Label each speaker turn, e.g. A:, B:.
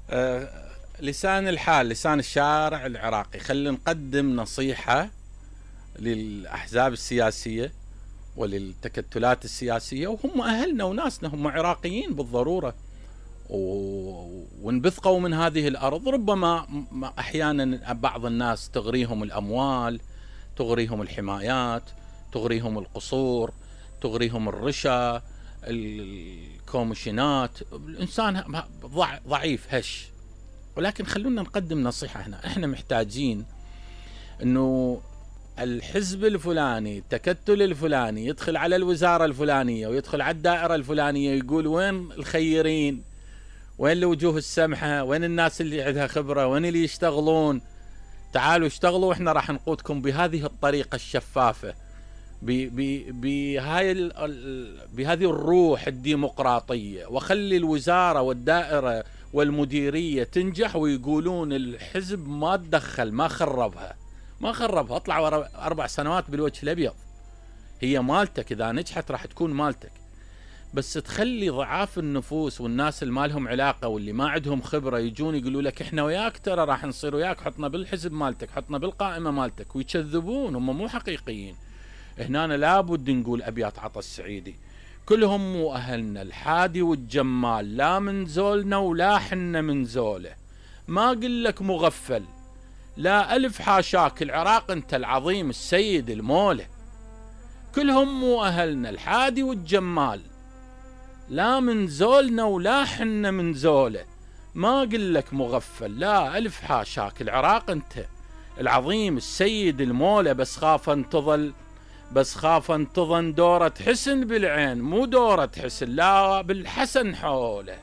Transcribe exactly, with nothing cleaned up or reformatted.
A: آه لسان الحال، لسان الشارع العراقي. خلينا نقدم نصيحة للأحزاب السياسية وللتكتلات السياسية، وهم أهلنا وناسنا، هم عراقيين بالضرورة وانبثقوا من هذه الأرض. ربما أحيانا بعض الناس تغريهم الأموال، تغريهم الحمايات، تغريهم القصور، تغريهم الرشا، الكوميشنات. الإنسان ضعيف هش، ولكن خلونا نقدم نصيحة هنا. احنا محتاجين انه الحزب الفلاني، التكتل الفلاني يدخل على الوزارة الفلانية ويدخل على الدائرة الفلانية يقول وين الخيرين، وين الوجوه السمحة، وين الناس اللي عندها خبرة، وين اللي يشتغلون، تعالوا اشتغلوا واحنا راح نقودكم بهذه الطريقة الشفافة، بهاي بهذه الروح الديمقراطية، وخلي الوزارة والدائرة والمديرية تنجح ويقولون الحزب ما تدخل، ما خربها ما خربها اطلع أربع سنوات بالوجه الأبيض. هي مالتك، إذا نجحت راح تكون مالتك، بس تخلي ضعاف النفوس والناس اللي ما لهم علاقة واللي ما عندهم خبرة يجون يقولوا لك احنا وياك، ترى راح نصير وياك، حطنا بالحزب مالتك، حطنا بالقائمة مالتك، ويكذبون. هم مو حقيقيين. هنا لابد نقول أبيات عطا السعيدي: كلهم مو أهلنا، الحادي والجمال، لا من زولنا ولا حنا من زوله، ما قل لك مغفل، لا ألف حاشاك، العراق انت العظيم السيد المولى. كلهم مو أهلنا، الحادي والجمال، لا من زولنا ولا حنا من زوله، ما قل لك مغفل، لا ألف حاشاك، العراق انت العظيم السيد المولى. بس خاف ان تظل بس خاف ان تظن دورة حسن بالعين، مو دورة حسن، لا بالحسن حوله.